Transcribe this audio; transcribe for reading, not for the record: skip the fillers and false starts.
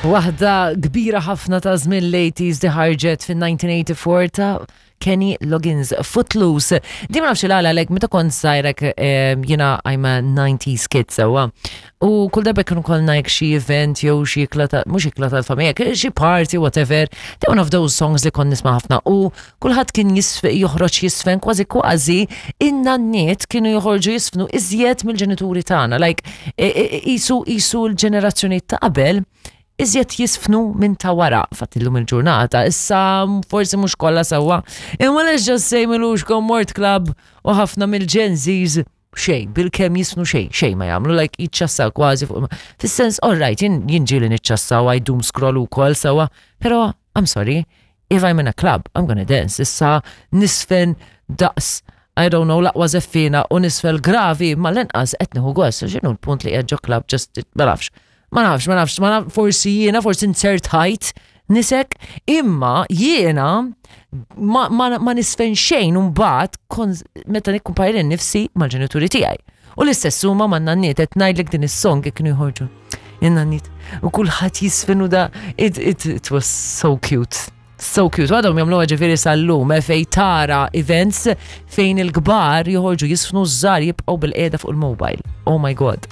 Waħda kbira ħafna ta' żmien l-80s di ħarġet fin-1984 ta' Kenny Loggins Footloose. Di ma nafx il-għala lek meta kont żgħirek jiena I'm a 90s kid sewwa. U kull darba kienu kollna jekk xi event jew xi ikla ta' mhux ikla tal-familja, xi party whatever. They one of those songs li kont nisma' ħafna u kulħadd kien joħroġ jisfen kważi kważi in-nanniet kienu joħorġu jisfnu iżjed mill-ġenituri tagħna. Like isu isu l-ġenerazzjoni ta' qabel iżjed jisfnu minn ta' wara. Fatt illum il-ġurnata, issa forsi mhux kollha sewwa. Imma let's just say milux mort club u ħafna mill-Gen Zs xej, bil-kem jisfnu xej, xej ma jagħmlu, like jiċċassaw kważi fuq. Fis-sens, all right, jien ġieli niċċassaw, I doom scroll ukoll sewwa, però I'm sorry, if I'm in a club, I'm gonna dance. Issa nisfen daqs, I don't know, laqwa zeffina u nisfel gravi, ma l-inqas qed nieħu gost, x'inhu l-punt li qiegħed ġo club just ma nafx. Ma nafx, ma nafx, ma nafx, forsi jiena, forsi nsertajt nisek, imma jiena ma, ma, ma nisfen xejn mbagħad meta nikkumpara nifsi mal-ġenituri tiegħi. U l-istess huma man nanniet qed ngħidlek din is-song kienu jħorġu. In-nanniet. U kulħadd jisfen u da it, it, it was so cute. So cute. Għadhom jagħmluha ġifieri sal-lum eh, fej tara events fejn il-kbar joħorġu jisfnu żgħar jibqgħu bil-qiegħda fuq il-mobile. Oh my God.